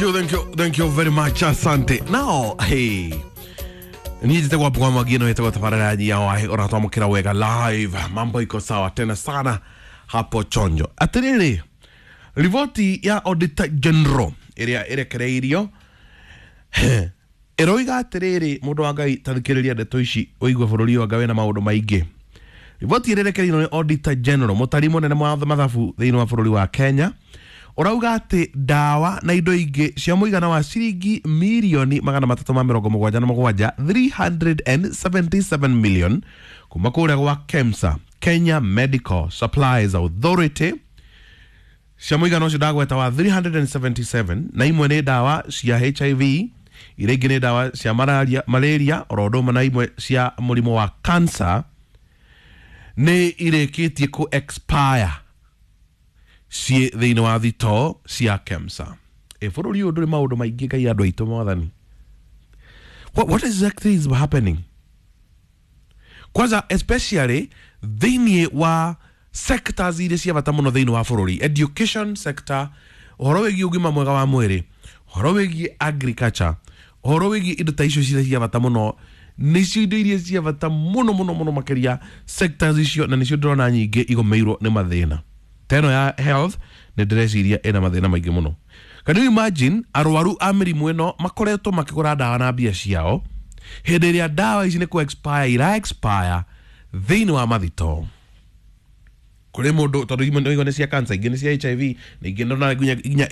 You, thank you, thank you very much. Asante. Now, hey. Niĩ njĩtagwo Mbugua Mwangi, ĩno ĩtagwo tabarĩra ya wahi ũratwamũkĩra wega live. Mambo iko sawa tena sana hapo chonjo. Atĩrĩrĩ, riboti ya Auditor General ĩrĩa ĩrekereirio ĩroiga atĩrĩrĩ, mũndũ wa Ngai, tathikĩrĩria ndeto ici ũigue bũrũri wa Ngai wĩna maũndũ maingĩ. Riboti ĩrĩa ĩrekereirio nĩ Auditor General, mũtari mũnene wa mathabu thĩinĩ wa bũrũri wa Kenya, ũrauga atĩ ndawa na indo ingĩ cia mũigana wa ciringi mirioni 377, 377 million, kuma kũrĩa gwa KEMSA, Kenya Medical Supplies Authority, cia mũigana ũcio ndagweta wa 377, na imwe nĩ ndawa cia HIV, iria ingĩ nĩ ndawa cia malaria oro ũndũ ũmwe na imwe cia mũrimũ wa cancer, nĩ irĩkĩtie kũ expire ciĩ thĩinĩ wa thitoo cia KEMSA. Ĩ bũrũri ũyũ ndũrĩ maũndũ maingĩ, Ngai, andũ aitũ, mwathani. What exactly is happening? Kwanza especially thĩinĩ wa sectors iria cia bata mũno thĩinĩ wa bũrũri, education sector, ũhoro wĩgiĩ ũgima mwega wa mwĩrĩ, ũhoro wĩgiĩ agriculture, ũhoro wĩgiĩ indo ta icio ciria cia bata mũno, nĩcio indo iria cia bata mũno mũno mũno makĩria, sectors icio, na nĩcio ndĩrona nyingĩ igũmĩirwo nĩ mathĩna. Ta ĩno ya health nĩ ndĩreciria ĩna mathĩna maingĩ mũno. Can you imagine arwaru a mĩrimũ ĩno makoretwo makĩgũra ndawa na mbia ciao hĩndĩ ĩrĩa ndawa ici nĩ kũ expire ira expire thĩinĩ wa mathitoo kũrĩ mũndũ, tondũ imwe nĩ cia cancer, ingĩ nĩ cia HIV, na ingĩ ndona nginya